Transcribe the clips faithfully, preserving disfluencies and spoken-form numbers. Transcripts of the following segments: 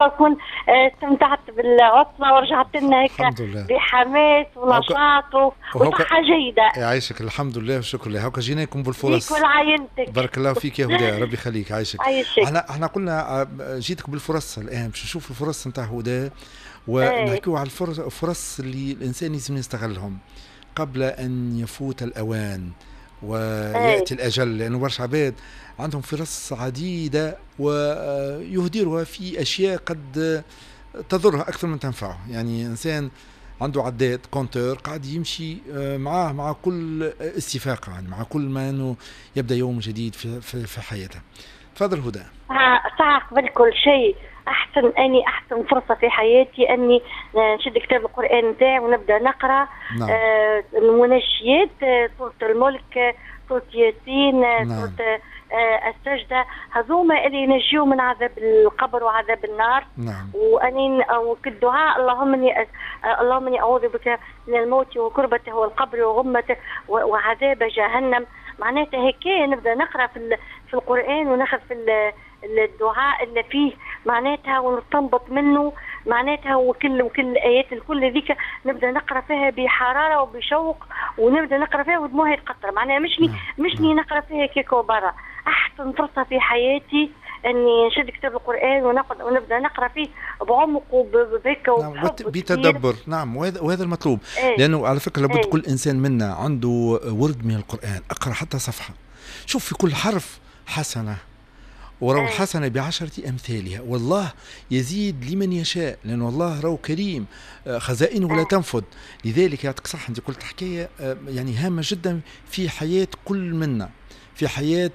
أكون استمتعت بالعطلة ورجعت لنا هيك بحماس ونشاط وصحة جيدة. يعيشك، الحمد لله والشكر لله. هاكا جيناكم بالفرص. ليك ولعائلتك. بارك الله فيك يا هدى، ربي يخليك، عايشك. عايشك. احنا احنا قلنا جيتك بالفرص الآن باش نشوف الفرص نتاع هدى ونحكيو على الفرص الفرص اللي الإنسان لازم يستغلهم قبل أن يفوت الأوان ويأتي الأجل، لأنه برشا عباد عندهم فرص عديدة ويهدرها في أشياء قد تضرها أكثر من تنفعه. يعني إنسان عنده عداد compteur قاعد يمشي معاه مع كل استفاقة، يعني مع كل ما أنه يبدأ يوم جديد في, في, في حياته. تفضل هدى. ساعة قبل كل شيء أحسن أني أحسن فرصة في حياتي أني نشد كتاب القرآن نتاعي ونبدأ نقرأ. نعم. آه المناجيات، سورة الملك، سورة ياسين، نعم. سورة آه السجدة، هذوما اللي ينجيو من عذاب القبر وعذاب النار. نعم. وأني الدعاء اللهم إني اللهم إني أعوذ بك من الموت وكربته والقبر وغمته وعذاب جهنم. معناتها هيك نبدأ نقرأ في في القرآن وناخذ في الدعاء اللي فيه معناتها ونستنبط منه معناتها، وكل وكل الايات الكل هذيك نبدا نقرا فيها بحرارة وبشوق، ونبدا نقرا فيها ودموعي تقطر، معناها مشني مشني نقرا فيها كيك وبرا. احسن فرصة في حياتي اني نشد كتاب القران ونقعد ونبدا نقرا فيه بعمق وبهيك. نعم، بتدبر. نعم، وهذا وهذا المطلوب. ايه. لانه على فكرة لابد ايه. كل انسان منا عنده ورد من القران، اقرا حتى صفحة، شوف في كل حرف حسنه، ورو الحسنة بعشرة أمثالها، والله يزيد لمن يشاء، لأن الله رو كريم، خزائنه لا تنفد. لذلك يعطيك صح، أنت قلت حكاية يعني هامة جدا في حياة كل منا، في حياة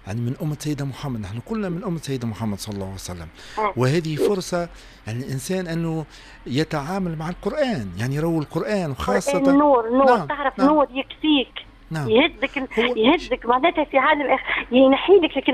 يعني من أمة سيدنا محمد، نحن كلنا من أمة سيدنا محمد صلى الله عليه وسلم. وهذه فرصة يعني الإنسان أنه يتعامل مع القرآن، يعني رو القرآن وخاصة نور نور. نعم. تعرف. نعم. نور يكفيك. نعم. يهزك يهزك معناتها في عالم اخر، ينحي لك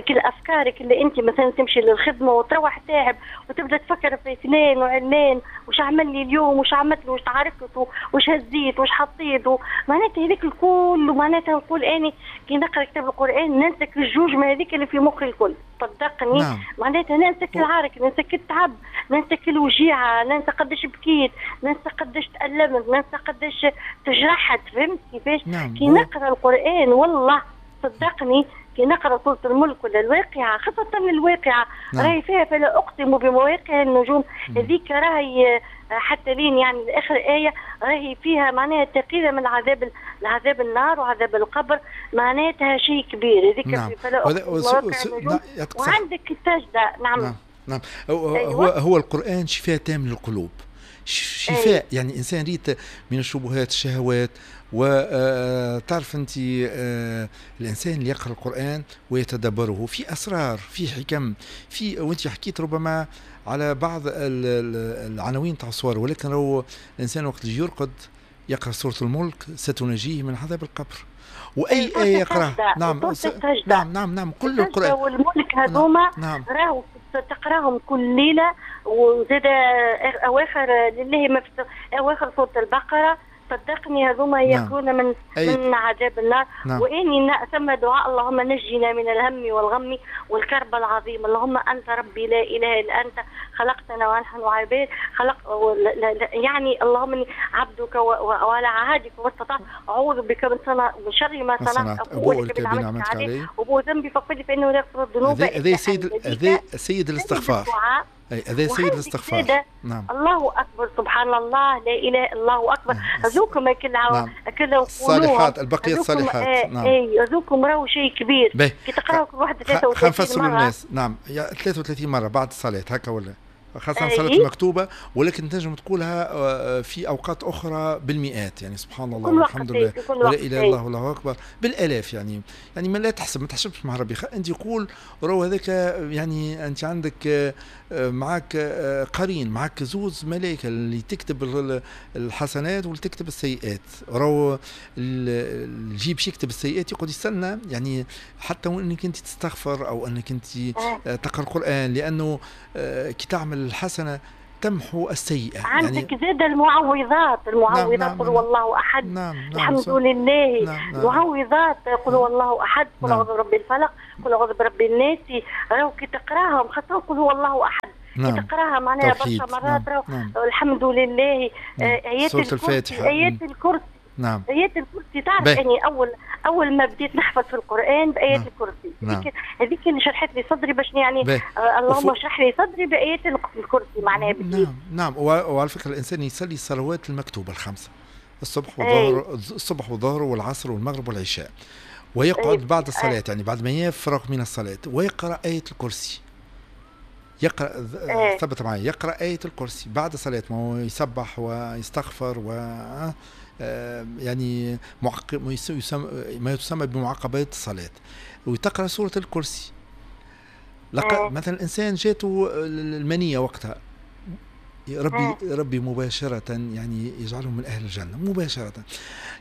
كل افكارك اللي انت مثلا تمشي للخدمة وتروح تعب وتبدا تفكر في فلان وعلان وش عمل لي اليوم وش عملت له وش تعاركت وش هزيت وش حطيت، معناتها هذاك الكل. ومعناتها نقول اني كي نقرا كتاب القران ننسى الجوج من هذيك اللي في مخي الكل، صدقني. نعم. معناتها ننسى العرك، ننسى التعب، ننسى الوجيعه، ننسى قداش بكيت، ننسى قداش تألمت، ننسى قداش تجرحت. فهمت كيفاش؟ نعم. كي نقرا القران والله صدقني كي نقرا سورة الملك ولا الواقعة، خاصة الواقعة. نعم. راهي فيها فلا اقسم بمواقع النجوم، هذيك راهي حتى لين يعني اخر ايه راهي فيها معناها تقيلة من عذاب العذاب النار وعذاب القبر، معناتها شيء كبير هذيك. نعم. فلا اقسم بمواقع النجوم. وعندك السجدة. نعم. نعم. نعم. هو أيوة. هو القران شفاء تام للقلوب، شفاء. أيه. يعني انسان ريت من الشبهات، الشهوات، وتعرف انت الانسان اللي يقرا القران ويتدبره في اسرار، في حكم، في وانت حكيت ربما على بعض العناوين تاع الصور، ولكن لو الانسان وقت اللي يرقد يقرا سورة الملك ستنجيه من عذاب القبر، واي ايه يقراها. نعم. نعم نعم نعم كل القران والملك هذوما. نعم. راهو تقراهم كل ليلة، وزاد اواخر لله ما في اواخر سورة البقرة، صدقني هذوما يكون من أي. من عذاب النار. نعم. واني ثم دعاء اللهم نجنا من الهم والغم والكرب العظيم، اللهم انت ربي لا اله الا انت خلقتنا ونحن عباد خلق يعني اللهم اني عبدك وعلى عهدك واستطعت، اعوذ بك من صنع من شر ما صنعت، ابوء لك بنعمتك علي وابوء ذنبي فاغفر لي فانه لا يغفر الذنوب. هذا سيد هذا سيد الاستغفار. هذا سيد الاستغفار. نعم. الله اكبر، سبحان الله، لا اله الا الله اكبر. هذوكم كل نعم. كل الصالحات، البقية الصالحات. آه. نعم. اي هذوكم راهو شيء كبير كي تقراو كل واحدة ثلاثة وثلاثين مرة. للناس. نعم، ثلاثة وثلاثين مرة بعد الصلاة هكا ولا خاصة الصلاة المكتوبة، ولكن تنجم تقولها في أوقات أخرى بالمئات، يعني سبحان الله والحمد لله ولا إله إلا الله والله أكبر بالآلاف، يعني يعني ما لا تحسب، ما تحسبش مع ربي، أنت قول راهو هذاك، يعني أنت عندك معك قرين، معك زوز ملائكة اللي تكتب الحسنات واللي تكتب السيئات، راهو اللي يجي باش يكتب السيئات يقعد يستنى، يعني حتى وأنك أنت تستغفر أو أنك أنت تقرأ القرآن، لأنه كي تعمل الحسنة تمحو السيئة. عندك يعني زاد المعوذات، المعوذات. نعم قل هو الله احد. نعم نعم الحمد لله. نعم نعم المعوذات قل هو الله احد، قل اعوذ برب الفلق، قل اعوذ برب الناس، راهو كي تقراهم خاطر قل هو الله احد. نعم. تقراها معناها برشا مرات. نعم. نعم. الحمد لله. نعم. ايات الكرسي، ايات الكرسي. نعم. ايات الكرسي تعرف اني اول اول ما بديت نحفظ في القران بايات نعم. الكرسي. نعم. هذيك اللي شرحت لي صدري باش يعني آه اللهم اشرح لي صدري بايات الكرسي معناها بديت. نعم نعم. وعلى فكرة الانسان يصلي الصلوات المكتوبة الخمسة، الصبح والظهر، الصبح والظهر والعصر والمغرب والعشاء، ويقعد أي. بعد الصلاة أي. يعني بعد ما يفرغ من الصلاة ويقرا ايه الكرسي. يقرا أي. ثبت معي، يقرا ايه الكرسي بعد الصلاة، ما هو يسبح ويستغفر و يعني معقب ما يسمى بمعقبات الصلاة، وتقرأ سورة الكرسي. لق... مثلا الإنسان جاته المنية وقتها، ربي ربي مباشرة يعني يجعله من أهل الجنة مباشرة.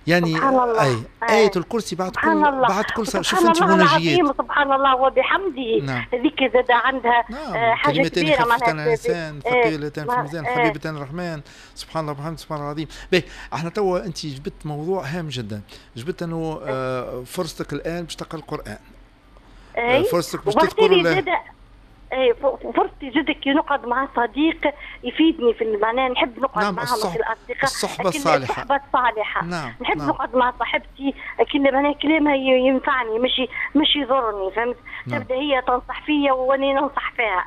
يعني أي آية الكرسي بعد كل بعد كل صلاة. شوف أنت مناجيات سبحان الله وبحمده. نعم. هذيك زاد عندها. نعم. حاجة كلمتين خفيفتان على اللسان ثقيلتان في الميزان حبيبتان الرحمن، سبحان الله وبحمده سبحان الله العظيم. باهي احنا توا أنت جبت موضوع هام جدا، جبت أنه فرصتك الآن باش تقرأ القرآن. أي. فرصتك باش تذكر الله. اي فرصتي جدا كي نقعد مع صديق يفيدني في معناها نحب نقعد. نعم. معهم في الاصدقاء، الصحبة الصالحة. الصحبة الصالحة. نعم. نحب نعم. نقعد مع صاحبتي كل معناها كلامها ينفعني مش مش يضرني، فهمت؟ نعم. تبدا هي تنصح فيا وانا ننصح فيها.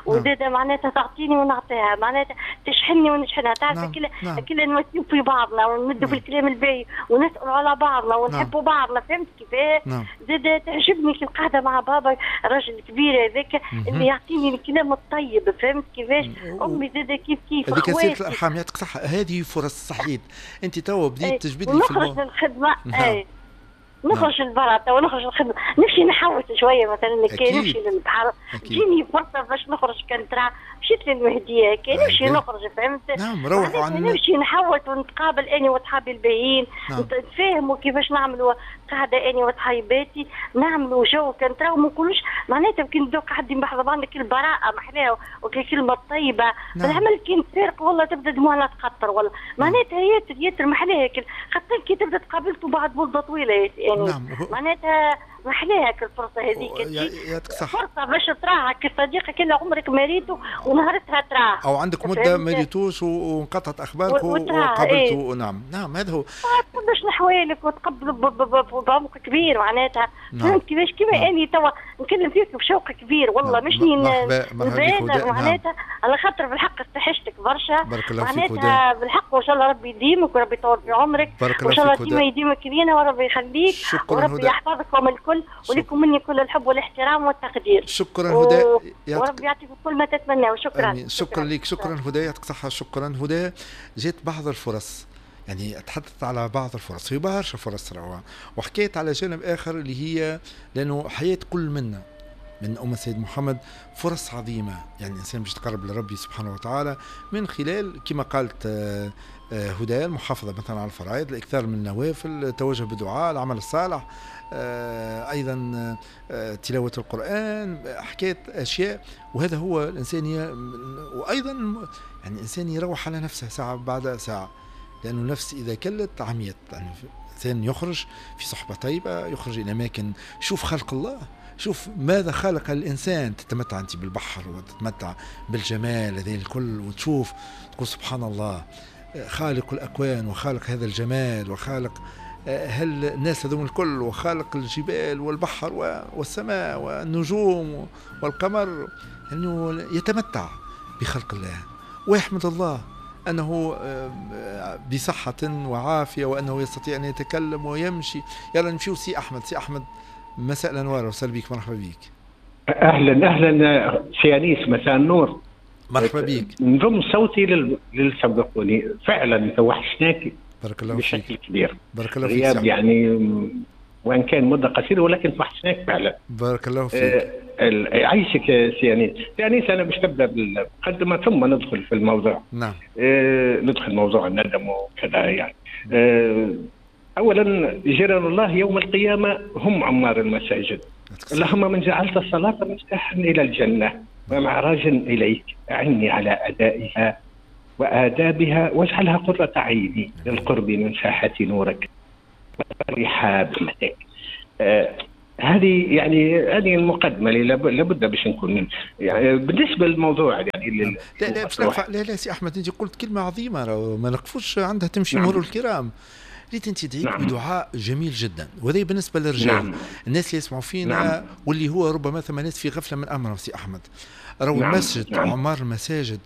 وزاده معناتها تعطيني ونعطيها، معناتها تشحنني ونشحنها، تعرف. نعم. كل نعم. كل نواسيو في بعضنا ونمدوا. نعم. في الكلام الباهي ونسالوا على بعضنا ونحبوا. نعم. بعضنا، فهمت كيفاه؟ نعم. زاده تعجبني كي القعدة مع بابا الراجل الكبير هذاك اللي يعطيني الكلام الطيب، فهمت كيفاش؟ امي زاده كيف كيف. هذيك سيره الارحام، يعطيك صحة، هذه فرص صحيت. انت توا بديت تجبد لي في نخرج للخدمة. اي نخرج للبرا تو نخرج للخدمة، نمشي نحوس شوية مثلا، كي نمشي للبحر تجيني فرصة باش نخرج، كان ترى مشيت للمهديه كي نمشي نخرج، فهمت؟ نعم. روحوا عن نمشي نحوس ونتقابل اني وصحابي الباهيين. نعم. نتفاهموا كيفاش نعملوا قاعدة اني وصحاباتي، نعملوا جو كان ترى ما نقولوش معناتها كي نبداو قاعدين بحذا بعضنا كل براءه محلاها وكل كلمة طيبة. نعم. بالعمل كي نتفارق والله تبدا دموعنا تقطر والله. نعم. معناتها ياسر ياسر محلاها، خاطر كي تبدا تقابلتوا بعد مده طويلة يعني. نعم. معناتها محلاها الفرصة هذيك، يعطيك صح، فرصة باش تراها كصديقك اللي عمرك ما ريته ونهارتها تراه، او عندك مده ما ريتوش وانقطعت اخبارك وقابلته. إيه؟ نعم نعم هذا هو. باش نحوالك وتقبل بعمق كبير معناتها. نعم. فهمت كيفاش؟ كيما نعم. اني توا نكلم فيك بشوق كبير والله. نعم. مش نبالغ معناتها. نعم. على خاطر بالحق استحشتك برشا. بارك الله فيك معناتها بالحق، وان شاء الله ربي يديمك وربي يطول في عمرك، وان شاء الله ديما يديمك لينا وربي يخليك وربي يحفظكم الكل، ولكم مني كل الحب والاحترام والتقدير. شكرا هدى، و... وربي يعطيكم كل ما تتمناه. شكرا. شكرا, شكرا لك. شكرا هدى، يعطيك صحة. شكرا هدى. جات بعض الفرص، يعني تحدثت على بعض الفرص، في برشا فرص روعة، وحكيت على جانب آخر اللي هي لأنه حياة كل منا من أمة سيد محمد فرص عظيمة، يعني الإنسان باش يتقرب لربي سبحانه وتعالى من خلال كما قالت هدى المحافظة مثلا على الفرائض، الإكثار من النوافل، التوجه بالدعاء، العمل الصالح، أيضا تلاوة القرآن، حكاية أشياء. وهذا هو الإنسان ي... وأيضا يعني الإنسان يروح على نفسه ساعة بعد ساعة، لأنه النفس إذا كلت عميت. يعني الإنسان يخرج في صحبة طيبة، يخرج إلى أماكن، شوف خلق الله، شوف ماذا خلق الإنسان، تتمتع أنت بالبحر وتتمتع بالجمال هذه الكل، وتشوف تقول سبحان الله خالق الأكوان وخالق هذا الجمال وخالق هل الناس هذوم الكل وخالق الجبال والبحر والسماء والنجوم والقمر، أنه يتمتع بخلق الله ويحمد الله أنه بصحة وعافية وأنه يستطيع أن يتكلم ويمشي. يلا نمشيو سي أحمد. سي أحمد مساء الأنوار، وسهلا بك، مرحبا بك. أهلا أهلا سي أنيس، مساء النور. مرحبا بك. نضم صوتي لل... للسبقوني، فعلا توحشناك بارك الله بشكل فيك. كبير. بارك الله فيك. غياب يعني وان كان مده قصيرة ولكن توحشناك فعلا. بارك الله فيك. آه عايشك سي أنيس. سي أنيس انا باش نبدا بالمقدمة ثم ندخل في الموضوع. نعم. آه ندخل موضوع الندم وكذا يعني. آه اولا جيران الله يوم القيامة هم عمار المساجد. اللهم من جعلت الصلاة مفتاحا الى الجنة ومعراجا اليك اعني على ادائها وآدابها، واجعلها قرة عيني للقرب من ساحة نورك ورحاب رحمتك. آه هذه يعني هذه المقدمة اللي لابد باش نكون يعني بالنسبة للموضوع يعني. لا لا لا لا, لا سي احمد، انت قلت كلمة عظيمة ما نقفوش عندها، تمشي مرور الكرام. ريت انت دعيت نعم. بدعاء جميل جدا، وهذا بالنسبة للرجال نعم. الناس اللي يسمعوا فينا نعم. واللي هو ربما ثم ناس في غفلة من امرهم سي احمد. راهو نعم. المسجد نعم. عمار المساجد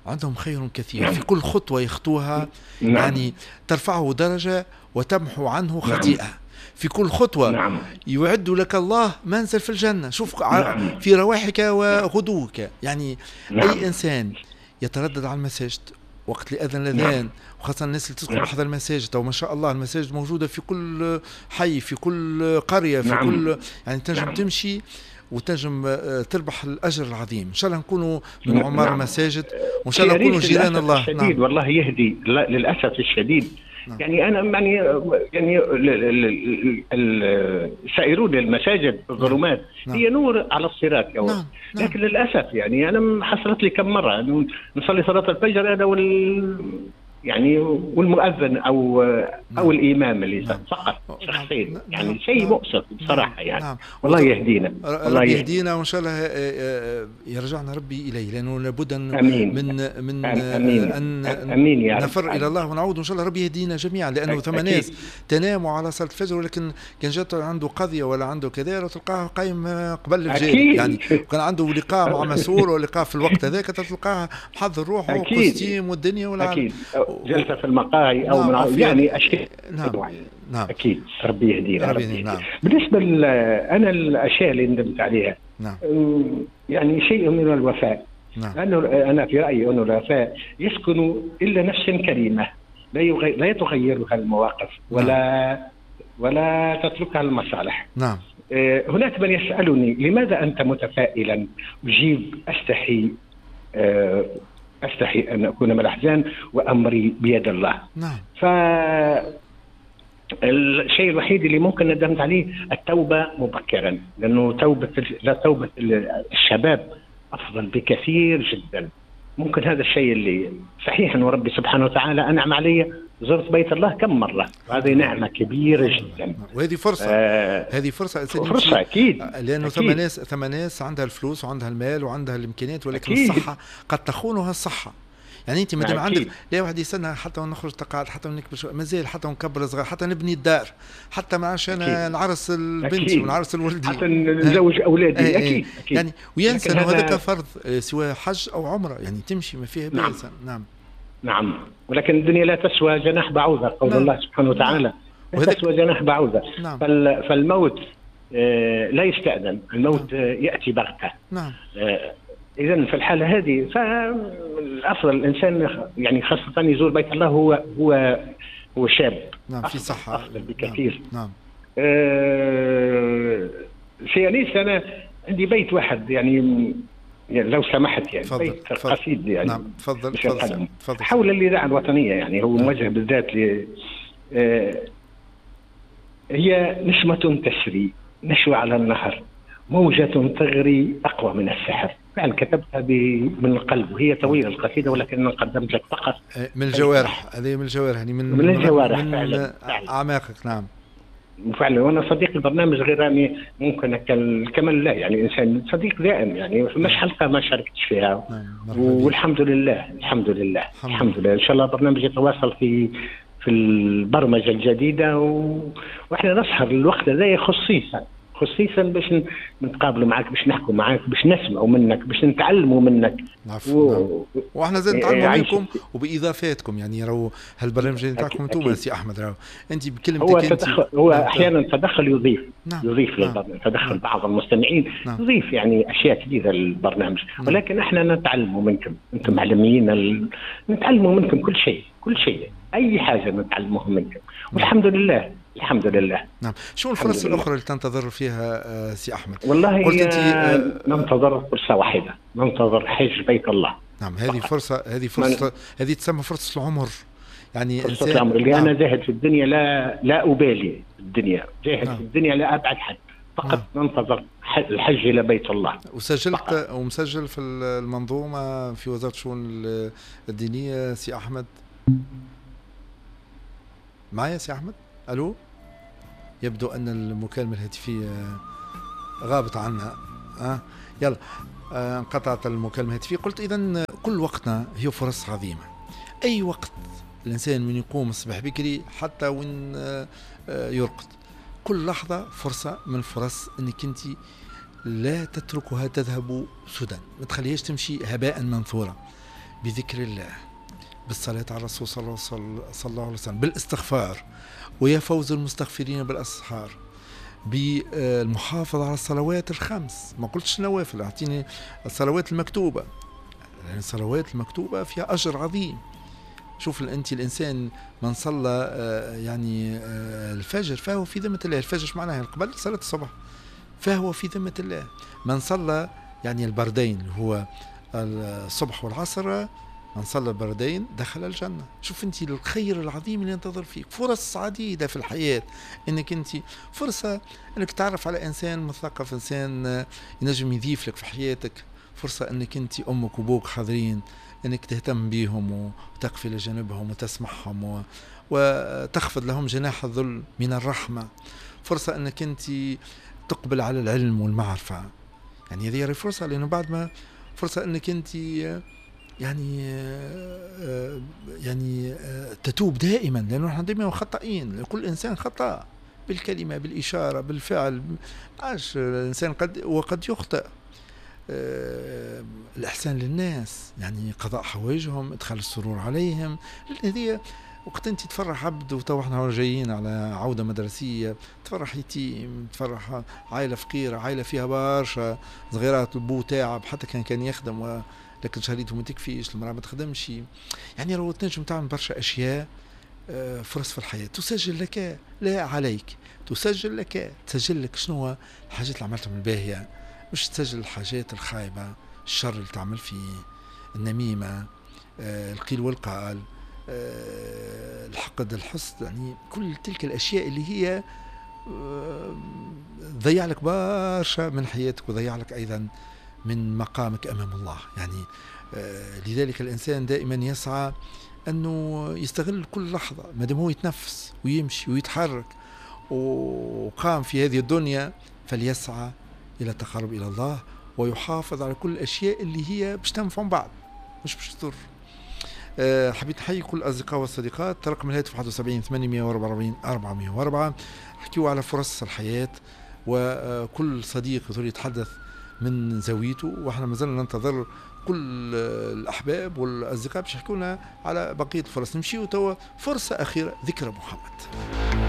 عندهم خير كثير نعم. في كل خطوة يخطوها نعم. يعني ترفعه درجه وتمحو عنه خطيئة نعم. في كل خطوة نعم. يعد لك الله منزل في الجنة. شوف نعم. في رواحك وغدوك يعني نعم. أي إنسان يتردد على المساجد وقت الأذان الأذان نعم. وخاصة الناس اللي تسكن نعم. بحذا المساجد، أو ما شاء الله المساجد موجودة في كل حي، في كل قرية، في نعم. كل يعني تنجم نعم. تمشي وتنجم تربح الأجر العظيم. إن شاء الله نكونوا من عمار نعم. المساجد، وإن شاء الله نكونوا جيران الله. الشديد نعم. والله يهدي للأسف الشديد نعم. يعني أنا يعني يعني السائرون للمساجد الظلمات نعم. هي نور على الصراط نعم. نعم. لكن للأسف يعني أنا حصلت لي كم مرة نصلي صلاة الفجر أنا وال يعني والمؤذن او نعم. او الامام اللي نعم. فقط شخصين نعم. يعني شيء نعم. مؤسف بصراحة يعني نعم. والله يهدينا، والله يهدينا، وان شاء الله يرجعنا ربي اليه، لانه لابد أمين. من من أمين. ان أمين يا نفر الى الله ونعود، وان شاء الله ربي يهدينا جميعا، لانه ثم ناس تناموا على صلاة الفجر، ولكن كان جات عنده قضية ولا عنده كذا تلقاه قايم قبل الفجر يعني، وكان عنده لقاء مع مسؤول ولقاء في الوقت هذاك تلقاه محضر روحه و costume والدنيا والعالم، جلسة في المقاهي أو نعم. من يعني أشياء نعم. نعم. أكيد ربي يهدينا ربي يهدينا. نعم. بالنسبة أنا الأشياء اللي ندمت عليها نعم. يعني شيء من الوفاء نعم. لأنه أنا في رأيي أنه الوفاء يسكن إلا نفس كريمة لا يغير لا تغيرها المواقف ولا نعم. ولا تتركها المصالح نعم. هناك من يسألني لماذا أنت متفائلا؟ أجيب أستحي أه أستحي أن أكون من الأحزان وأمري بيد الله نعم. فالشيء الوحيد اللي ممكن ندمت عليه التوبة مبكرا، لأنه توبة لا توبة الشباب أفضل بكثير جدا. ممكن هذا الشيء اللي صحيح أنه ربي سبحانه وتعالى أنعم علي، زرت بيت الله كم مرة، وهذه نعمة كبيرة جدا، وهذه فرصة آه هذه فرصة فرصة أكيد، لأنه ثم ناس ثم ناس عندها الفلوس وعندها المال وعندها الإمكانيات، ولكن أكيد. الصحة قد تخونها الصحة. يعني أنت مادام عندك لا واحد يستنى حتى نخرج تقاعد، حتى نكبر مازال، حتى نكبر صغار، حتى نبني الدار، حتى ما عادش أنا نعرس البنت ونعرس الولدي، حتى نزوج أولادي أكيد. أكيد. يعني وينسى أنه هذاك فرض سواء حج أو عمرة، يعني تمشي ما فيها بأس. نعم. نعم نعم، ولكن الدنيا لا تسوى جناح بعوضة، قول نعم. الله سبحانه وتعالى لا تسوى جناح بعوضة. نعم. فالموت لا يستأذن، الموت نعم. يأتي بغتة. نعم. إذا في الحالة هذه فالأفضل الإنسان يعني خاصة يزور بيت الله هو هو هو شاب. نعم، في صحة أفضل بكثير. نعم. نعم. آه سيانيس أنا عندي بيت واحد يعني لو سمحت يعني فضل بيت قصيد يعني. نعم تفضل تفضل تفضل. حول الإذاعة الوطنية يعني هو موجه بالذات ل آه هي نسمة تسري نشوى على النهر، موجة تغري أقوى من السحر. فعلا كتبتها من القلب، وهي طويلة القصيدة ولكن أنا قدمت لك فقط من الجوارح، هذه من الجوارح يعني من من الجوارح من فعلا أعماقك. نعم فعلا، وانا صديق البرنامج غير اني ممكن كمال لا يعني انسان صديق دائم يعني مش حلقة ما شاركتش فيها. والحمد لله الحمد لله الحمد لله. ان شاء الله البرنامج يتواصل في في البرمجة الجديدة و... واحنا نسهر الوقت هذا خصيصا خصيصا باش نتقابلوا معك، باش نحكوا معك، باش نسمعوا منك، باش نتعلموا منك. عفو. و... واحنا زاد نتعلموا منكم وباضافاتكم يعني. راهو هالبرنامج نتاعكم انتم سي احمد، راهو انت بكلمتك هو انت تدخل هو احيانا تدخل يضيف. نعم. يضيف نعم. للبرنامج تدخل نعم. بعض المستمعين. نعم. يضيف يعني اشياء كثيرة للبرنامج. نعم. ولكن احنا نتعلموا منكم، انتم معلمين ال... نتعلموا منكم كل شيء، كل شيء، اي حاجة نتعلموها منكم. والحمد لله الحمد لله. نعم. شو الفرص الأخرى اللي تنتظر فيها سي أحمد؟ والله قلت أنت ننتظر فرصة واحدة، ننتظر حج بيت الله. نعم، هذه فرصة، هذه فرصة، هذه تسمى فرصة العمر يعني. فرصة العمر اللي نعم. أنا زاهد في الدنيا، لا لا أبالي في الدنيا، زاهد نعم. في الدنيا لا أبعد حد، فقط ننتظر الحج الى بيت الله. وسجلت ومسجل في المنظومة في وزارة الشؤون الدينية سي احمد؟ معايا سي احمد؟ الو، يبدو ان المكالمة الهاتفية غابت عنا. أه؟ يلا آه، انقطعت المكالمة الهاتفية. قلت اذا كل وقتنا هي فرص عظيمة. اي وقت الانسان من يقوم الصباح بكري حتى وين آه، يرقد، كل لحظة فرصة من فرص انك انت لا تتركها تذهب سدى، ما تخليهاش تمشي هباء منثورا. بذكر الله، بالصلاة على الرسول صلى الله عليه وسلم، بالاستغفار، ويا فوز المستغفرين بالاسحار، بالمحافظة على الصلوات الخمس. ما قلتش نوافل، اعطيني الصلوات المكتوبة، يعني الصلوات المكتوبة فيها اجر عظيم. شوف انت الانسان من صلى يعني الفجر فهو في ذمه الله. الفجر ايش معناها؟ قبل صلاة الصبح فهو في ذمه الله. من صلى يعني البردين اللي هو الصبح والعصر، من صلى البردين دخل الجنة. شوف انت الخير العظيم اللي ينتظر فيك. فرص عديدة في الحياة، انك انت فرصة انك تعرف على انسان مثقف، انسان ينجم يضيف لك في حياتك. فرصة انك انت امك وابوك حاضرين، انك تهتم بيهم وتقف الى جانبهم وتسمعهم و... وتخفض لهم جناح الذل من الرحمة. فرصة انك انت تقبل على العلم والمعرفة، يعني هذه فرصة، لانه بعد ما فرصة انك انت يعني يعني تتوب دائما، لانه نحن دائما خطائين، كل انسان خطأ بالكلمة، بالإشارة، بالفعل. عاش الانسان قد وقد يخطئ. الإحسان للناس، يعني قضاء حوائجهم، إدخال السرور عليهم. هذه وقت أنت تفرح عبد، وتو احنا جايين على عودة مدرسية، تفرح يتيم، تفرح عائلة فقيرة، عائلة فيها برشا صغيرات، البو تعب حتى كان كان يخدم لكن شهريته ما تكفيش، المرأة ما تخدمش. يعني لو تنجم تعمل برشا أشياء، فرص في الحياة تسجل لك لا عليك، تسجل لك، تسجل لك شنو الحاجات اللي عملتهم الباهية، مش تسجل الحاجات الخايبة، الشر اللي تعمل فيه، النميمة، آه، القيل والقال، آه، الحقد، الحسد، يعني كل تلك الأشياء اللي هي آه، ضيع لك برشا من حياتك وضيع لك أيضا من مقامك أمام الله. يعني آه، لذلك الإنسان دائما يسعى أنه يستغل كل لحظة ما دام هو يتنفس ويمشي ويتحرك وقام في هذه الدنيا، فليسعى إلى التقرب إلى الله ويحافظ على كل الأشياء اللي هي باش تنفع بعض مش باش تضر. أه حبيت نحيي كل الأصدقاء والصديقات. رقم الهاتف واحد وسبعين ثمانمائة وأربعة وأربعين أربعمائة وأربعة. حكيوا على فرص الحياة، وكل صديق يقدر يتحدث من زاويته، واحنا مازلنا ننتظر كل الأحباب والأصدقاء باش يحكوا لنا على بقية الفرص. نمشيو توا فرصة أخيرة، ذكرى محمد.